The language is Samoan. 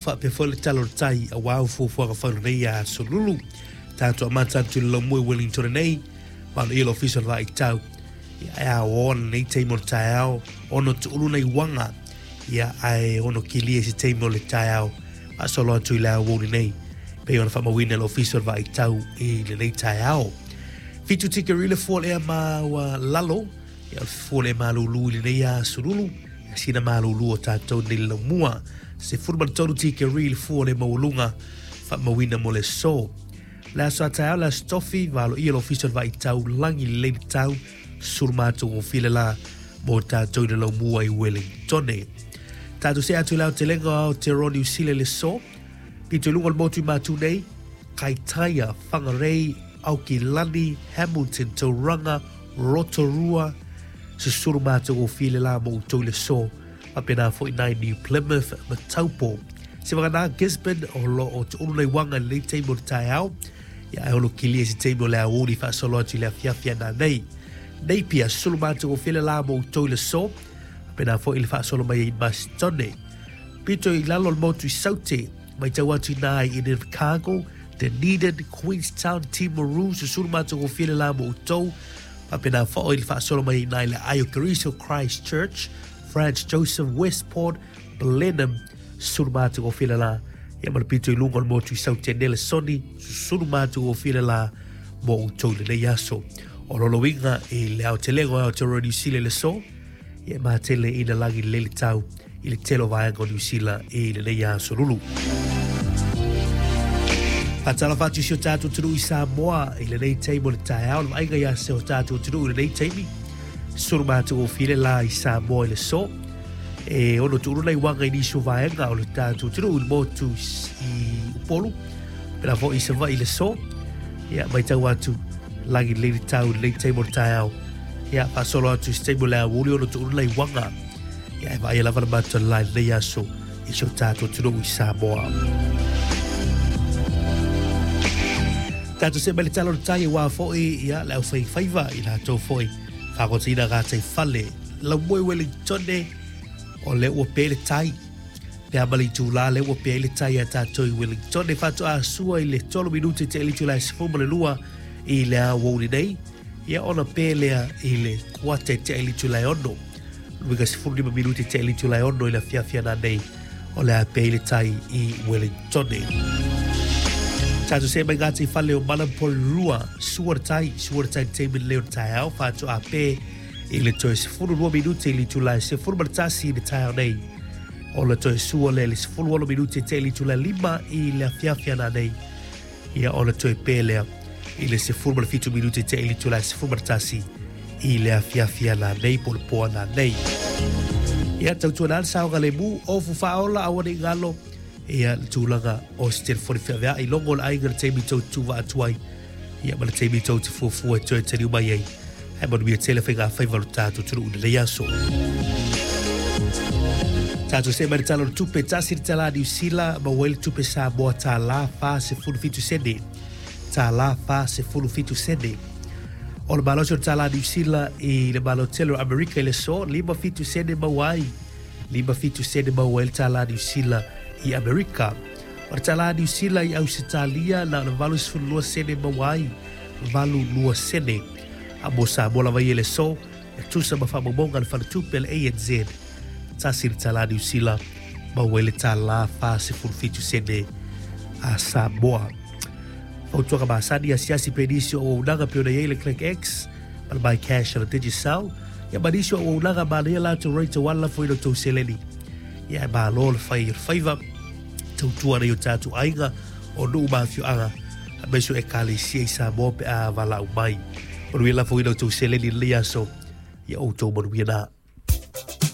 Faapea foi le tala o le tai aua au fuafuaga fai o lenei aso lulu. Tatou amata atu i le laumua i Wellington nei, valoia le ofisa o le Vaaitau. Ia, e aoa lenei taimi o le taeao, ono tuulu nai uaga, ia, ae ono kilia i se taimi o le taeao, faasolo atu i le aoauli nei, pei ona faamauina e le ofisa o le Vaaitau i lenei taeao. 7 tikeri le fua o le ea maualalo, Ia, o le fua le malūlū i lenei aso lulu, ia sina malūlū o tātou nei le laumua. 13 tikeri le fua o le maualuga faamauina mo le aso. Le aso a taeao, le aso tofi, valoia le ofisa o le Vaaitau lagi lelei le tau, sulu matagofie le la mo tātou i le laumua i Wellingtone. Tātou see atu i le aotelega o Aotearoa Niu Sila i le aso, pito i luga o le motu i Matū nei, Kaitaia, Whangarei, Aukilani, Hamilton, Tauranga, Rotorua, susulu matagofie le la mo outou i le aso, faapena foi nai New Plymouth ma Taupo. Se vagana Gisborne o lo o tuulu nai uaga i lenei taimi o le taeao, ia ae ono kilia i se taimi o le aoauli faasolo atu i le afiafi a nanei. Napier, susulu matagofie le la mo outou i le aso, faapena foi le faasolo mai ai i Masterton. Pito i lalo o le motu i Saute, Matau atu i nā i Invercargill, Dunedin, Queenstown, Timaru, susulu matagofie le la mo outou. Faapena foi le faasolo mai i nā i le aai o Keriso Christchurch, Franz Joseph, Westport, Blenheim, susulu matagofie le la. Ia ma le pito i luga o le motu i Saute Nelesoni, susulu matagofie le la mo outou i lenei aso. O lona uiga i le aotelega o Aotearoa Niu Sila i le aso, Ia e matele ina lagi lelei le tau i le tele o vaega o Niu Sila i lenei aso lulu. Faatalofa atu i si o tatou atunuu i Samoa i lenei taimi o le taeao, le vaaiga ia se o tatou atunuu i lenei taimi. Sulu matagofie le la i Samoa i le aso. E ono tuulu nai uaga i nisi o vaega o le tatou atunuu i le motu i Upolu. Pēlā foi i Savaii i le aso. Ia, matau atu, lagi lelei le tau i lenei taimi o le taeao. Ia, faasolo atu i se taimi o le aoauli ona tuulu nai uaga. Ia, e vaaia lava le matou la i lenei aso i si o tatou atunuu i Samoa. Tatou see mai le tala o le tai aua foi ia, le aufaifaiva i latou foi faagotaina gatai fale. Laumoe Wellingtone, o lea ua pe le tai. Pe a ma le itulā lea ua pe ai le tai a tātou i Wellingtone. Faatoa sua i le 3 minute te itula e 12 i le aoauli nei. Ia ona pe lea i le kuata e tea i le itula e 6. Luiga 15 minute tea i le itula e 6 i le afiafi a nanei o le a pe ai le tai i Wellingtone. Tātou see mai ngā fale o Manapouri sua le tai, sua le tai i le taimi lenei o le taeao, faatoa pe i le toe 12 minute i le itula e 11 i le taeao nei. Ona toe sua lea i le 16 minute tea i le itula e 5 i le afiafi a nanei. Ia ona toe pe lea i le 17 minute tea i le itula e 11 i le afiafi a nanei po o le po a nanei. Ia, tautuana le saogalemu, ofu faaola aua ne i galo, ia le tulaga o se telefoni feaveai, logo le aiga i le taimi tou te tuuvaa atu ai, ia ma le taimi tou te fuafua e toe taliu mai ai. Ae manuia tele faigafaiva o le tatou atunuu i lenei aso. Tatou see mai le Tala o le Tupe, tasi le talā Niu Sila, maua ai le tupe Samoa tālā 47 sene. Tālā 47 sene. O le malosi o le tālā Niu Sila i le Malo Tele o Amerika i le aso, 57 sene maua ai. 57 sene maua ai le tālā Niu Sila i Amerika. O le tālā Niu Sila i Ausetalia, na o le 82 sene maua ai. 82 sene. A mo Samoa lava ia i le aso, e tusa ma faamaumauga a le Faletupe a le ANZ, tasi le tālā Niu Sila, maua ai le tālā 47 sene a Samoa. Fautuaga masani, asiasi pea i nisi o auaunaga pei ona i ai le Click X, ma le MyCash a le Digicel, ia ma nisi o auaunaga manaia latou rate aua le lafo i la outou seleni. Ia e malo le fai o le faiva, tautua ana i o tatou aiga, o nuu ma afioaga, aemaise o Ekalesia i Samoa pe a valaau mai. Manuia lafoina outou seleni i lenei aso, ia outou manuia na.